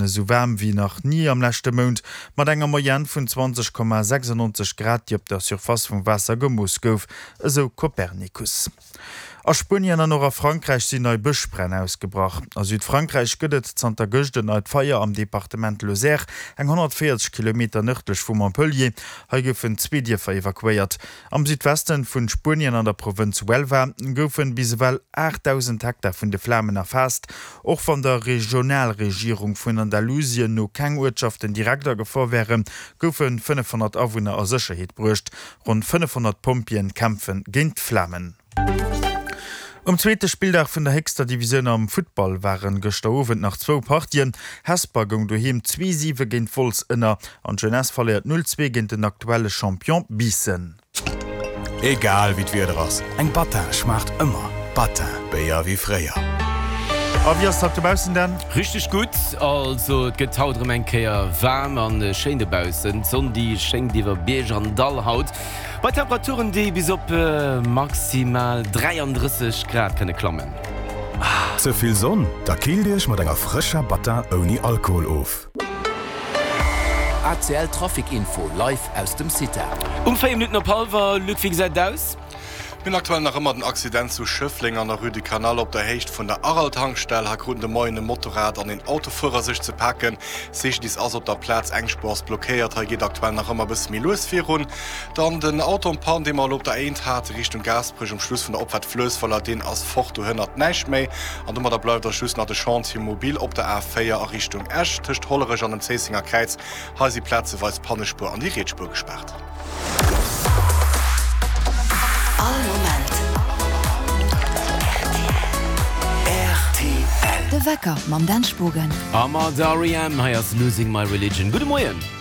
Esou waarm wéi nach ni am leschte Mount, mat enger Moyenne vun 20,96 Grad, déi op der Surface vum Waasser gemooss gouf, esou Copernicus. A Spuenien an och a Frankräich sinn nei Bëschbränn ausgebrach. A Südfrankräich gëtt et zanter gëscht en neit Feier am Departement Lozère, eng 140 Kilometer nërdlech vu Montpellier. Hei goufen zwee Dierfer evakuéiert. Am Südwesten vun Spuenien an der Provënz Huelva goufen bis ewell 8.000 Hektar vun de Flamen erfaasst. Och wann der Regionalregierung vun Andalusien no keng Uertschaften direkt a Gefor wären, goufe 500 Awunner a Sécherheet bruecht. Ronn 500 Pompjeeën kämpfe géint d'Flamen. Um zweete Spilldag vun der héchster Divisioun am Futtball waren gëschter Owend nach zwou Partien. Hesper goung doheem 2, 7 géint Wolz ënner an d'Jeunesse verléiert 0, 2 géint den aktuelle Champion Biissen. Egal wéi d'Wieder ass, eng Battin schmaacht ëmmer. Battin, Béier wéi fréier. A wéi ass dat dobaussen Dan? Richteg gutt, also et gëtt haut erëm eng Kéier waarm an schéin dobaussen. D'Sonn déi schéngt iwwer Bierg an Dall haut. Bei Temperaturen, déi bis op maximal 33 Grad kënne klammen. Ze vill Sonn? Da killt Iech mat enger frëscher Battin ouni Alkohol of. ACL Trafic Info live aus dem CITA. Um 4 Minutten op hallwer, Luc, wéi gesäit et aus? Mir hunn aktuell nach ëmmer den Accident zu Schëffleng an der Rue du Canal op der Héicht vun der Aral-Tankstell. Hei kruten de Moien e Motorrad an een Autofuerer sech ze paken. CGDIS ass op der Plaz, eng Spuer ass blockéiert. Hei geet aktuell nach ëmmer e bësse méi lues virun. Dann den Auto en panne, dee mer elo op der A1 hate Richtung Gaasperech um Schluss vun der Opfaart Fluessweiler, deen ass fort, do hënnert näischt méi. An domadder bleift eis just nach de Chantier mobile op der A4 a Richtung Esch tëscht Hollerech an dem Zéissenger Kräiz. Hei si plazeweis d'Pannespuer an déi riets Spuer gespaart. All Moment rtl. De Wecker mam Dan Spogen. A mat R.E.M. Hei ass Losing My Religion. Gudde Moien.